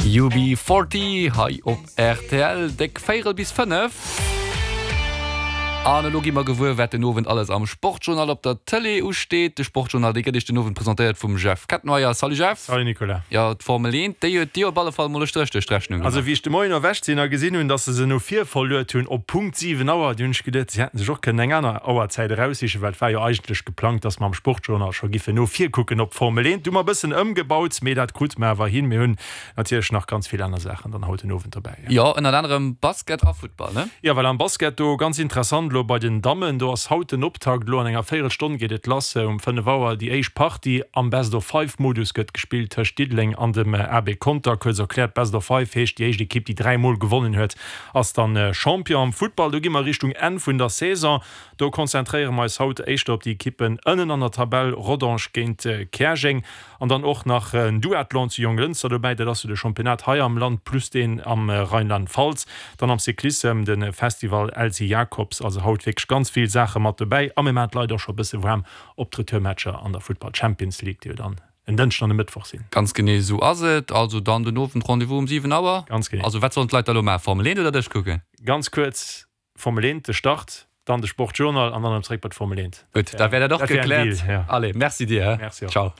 UB40 hei op rtl, déck véierel bis 5. An elo gi mer gewuer, wat den Owend alles am Sportjournal op der Tëlee usteet. De Sportjournal, dee gëtt Iech den Owend presentéiert vum Jeff Kettenmeyer. Salut Jeff! Salut Nicolas! Jo, d'Formel 1, déi huet dir op alle Fall mol e Stréch duerch d'Rechnung gemaach. Also wéi ech de Moien erwächt sinn a gesinn hunn, dass se se no vir verluet hunn op Punkt 7 Auer, du hunn ech geduet, si hätten sech och kënnen eng aner Auerzäit eraussichen, well et war jo eigentlech geplangt, dass mer am Sportjournal scho giffen no vir kucken op d'Formel 1. Du hu mer e bëssen ëmgebaut, mee dat krute mer awer hin. Mir hunn natierlech nach ganz vill aner Saachen dann haut den Owend dobäi. Jo, ënnert anerem Basket a Futtball, ne? Jo, well am Basket do ganz interessant elo bei den Dammen, do ass haut den Optakt, elo an enger Véierelstonn geet et lass, um 5 Auer déi éischt Partie am Best of Five Modus gëtt gespillt tëscht Diddeleng an dem AB Conter. Kuerz erkläert, Best of Five heescht, déi éischt Ekipp déi 3 mol gewonnen huet ass dann Champion. Am Futtball, do gi mer Richtung Enn vun der Saison, do konzentréiere mer eis haut éischter op déi Ekippen ënnen an der Tabell, Rodange géint Käerjeng. An dann och nach en Duathlon zu Jonglënster dobäi, dat ass jo de Championnat hei am Land plus deen am Rheinland-Pfalz. Dann am Cyclissem de Festival Elsy Jacobs. Also haut wierklech ganz vill Saache mat dobäi a mir maachen d'Leit och scho e bësse waarm op d'Retourmatcher an der Futtball Champions League, déi jo dann en Dënschden an e Mëttwoch sinn. Ganz genee esou ass et. Also dann den Owend Rendez-vous um 7 Auer. Ganz genee. Also wat sollen d'Leit da lo maachen? Formel 1 oder dech kucken? Ganz kuerz, Formel 1, de Start, dann de Sportjournal an dann erëm zréck bei d'Formel 1. Gutt, da wär dat och gekläert. Allez, merci dir. Merci och. Ciao.